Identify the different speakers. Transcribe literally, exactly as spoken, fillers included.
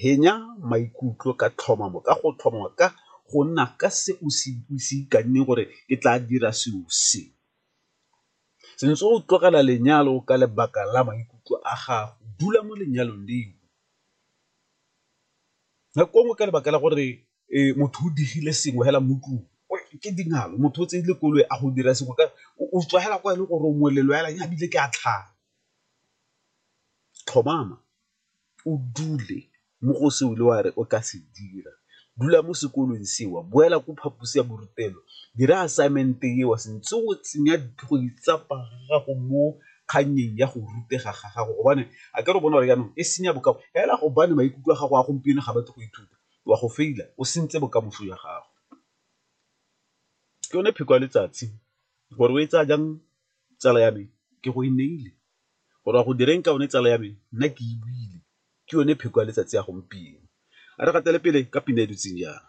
Speaker 1: Henya maikutlo ka tlhomamo, ka go tlhomama, ka go nna ka se o se ikanneng gore ke tla dira selo se. Sentse o tlogela lenyalo ka lebaka la maikutlo a gago, dula mo lenyalong leo. Nako nngwe ka lebaka la gore motho o digile sengwe fela mo ntlung ke dingalo, motho o tseile koloi a go dira sengwe o tswa fela kwa e le gore o molelo fela ebile ke a tlhanya. Tlhomama o dule mo go se o ile wa re o ka se dira, dula mo sekolong seo, boela ko phaposi ya borutelo, dira assignment-e eo santse o tsenya go itsapa gago mo kgannyeng ya go rutega ga gago gobane akere o bona gore jaanong e senya bokao fela gobane maikutlo a gago a gompieno ga batle go ithuta o a go fail-a o sentse bokamoso jwa gago. Ke yone pheko ya letsatsi gore o e tsaya jang tsala ya me ke go e neile, gore o a go direng ka yone tsala ya me nna ke e buile, ke yone pheko ya letsatsi ya gompieno. A re gatele pele ka pina e dutseng jang.